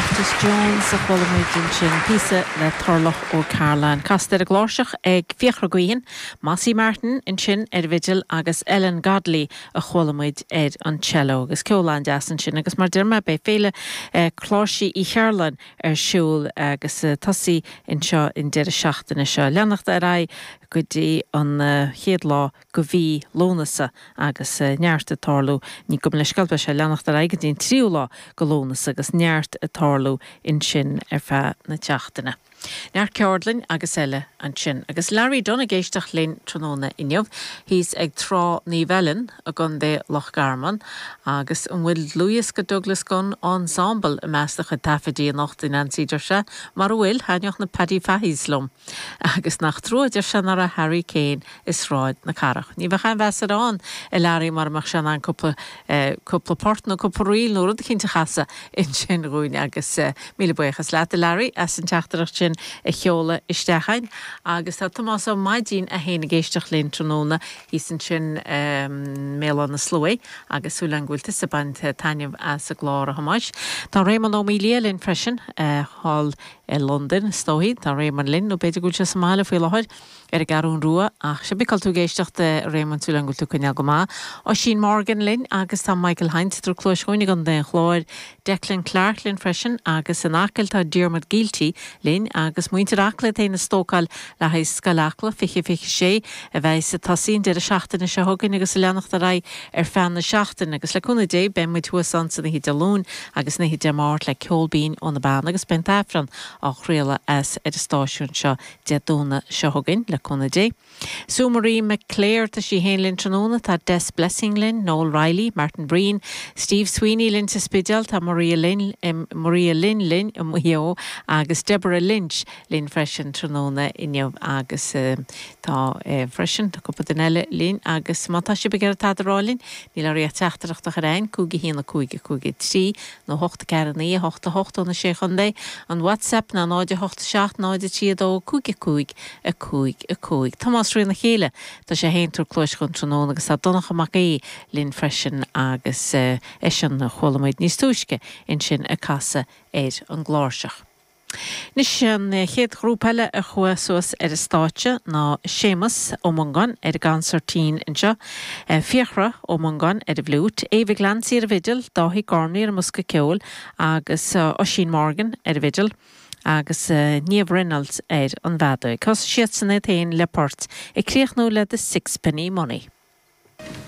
Loftus Jones a chuala muid ansin, píosa le Turlough Ó Cairealláin. Casta ar an gcláirseach ag Fiachra Guihen, Mossie Martin ansin ar an bhfidil agus Ellen Godley a chuala muid ar an cello. Agus ceol an-deas ansin agus mar deir mé beidh Féile Cláirsí Uí Chairealláin ar siúl agus tosaí anseo an deireadh seachtaine seo. Leanacht ar aghaidh go dtí an chéad lá go mhí Lúnasa agus neart ag tarlú, ní gabh mo leithscéal, beidh sé ag leanacht ar aghaidh go dtí an tríú lá go Lúnasa agus neart ag tarlú ansin ar feadh na tseachtaine. Neart ceardlainn agus eile ansin. Agus Larry Dunne ag éisteacht linn tráthnóna inniu, thíos ag Trá Naomh Ellen i gContae Loch Garman. Agus an bhfuil dlúthdhiosca Douglas Gunn Ensemble i measc do chuid taifidí anocht, a Neansaí, deir sé. Mara bhfuil, thaitneodh na Paddy Fahy's liom. Agus nach trua, deir sé, nach raibh Harry Kane i Sráid na Cathrach. Ní bheadh aon mheas air ann, a Larry, mara mbeadh sé in ann cúpla, cúpla port nó cúpla ríl nó rud eicínt a chasadh ansin dhúinn. Agus míle buíochas leat, a Larry, as an teachtaireacht sin a sheoladh isteach a'inn. Agus tá Tomás Ó Maidín é féin ag éisteacht linn tráthnóna thíos ansin i mBéal Átha na Sluaighe agus súil agam go bhfuil tusa ag baint taitneamh as an gclár, a Thomáis. Tá Réamonn Ó Maoildhia linn freisin, thall i Londain, is dóichí. Tá Réamonn linn, nó b'fhéidir go bhfuil sé sa mbaile faoi láthair, ar an gCeathrún Rua, ach cibé cá bhfuil tú ag éisteacht, a Réamoinn, súil agam go bhfuil tú ag coinneáil go maith. Oisín Morgan linn agus tá Michael Hynes ag tabhairt cluais dhúinn i gContae an Chláir, Declan Clarke linn freisin agus in Acaill tá Diarmuid Gielty linn agus muintir Acla iad féin ag stócáil le haghaidh Scoil Acla 2026 a bheidhs ag tosaí an deireadh seachtaine seo chugainn agus ag leanacht ar aghaidh ar feadh na seachtaine agus le cúnamh Dé beidh muid thuas ann san oíche Dé Luain agus an oíche Dé Máirt le ceol binn ó na beanna agus beidh an tAifreann á chraoladh as ar an stáisiún seo Dé Domhnaigh seo chugainn, le cúnamh Dé. Sue Marie McClare, tá sí féin linn tráthnóna, tá Des Blessing linn, Noel Reilly, Martin Breen, Steve Sweeney linn sa Spidéal, tá Maria Lynn, Maria Lynn linn i Maigh Eo agus Deborah Lynch linn freisin tráthnóna inniu agus tá freisin, tá cúpla duine eile linn agus má tá sibh ag iarraidh tada a rá linn, níl oraibh ach teachtaireacht a chur a'inn, 5 1 5 5 3 nó 8 4 9 8 8 ó na Sé Chontae, an WhatsApp ná 0 8 7 0 3 2 5 5 5 5. Tomás Rí na Chéile, tá sé féin ag tabhairt cluais dhúinn tráthnóna agus tá Donncha Mac Aoidh linn freisin agus eisean a chuala muid níos túisce ansin ag casadh ar an gcláirseach. Anois, an chéad ghrúpa eile a chuaigh suas ar an stáitse ná Séamus Ó Mongáin ar an gconsairtín anseo, Fiachra Ó Mongáin ar an bhfliúit, Ava Glancy ar an bhfidil, Dáithí Gormley ar an mbosca ceoil agus Oisín Morgan ar an bhfidil agus Niamh Reynolds ar an bhfeadóig. Thosaigh siadsan iad féin le port, ag críochnú le The Sixpenny Money.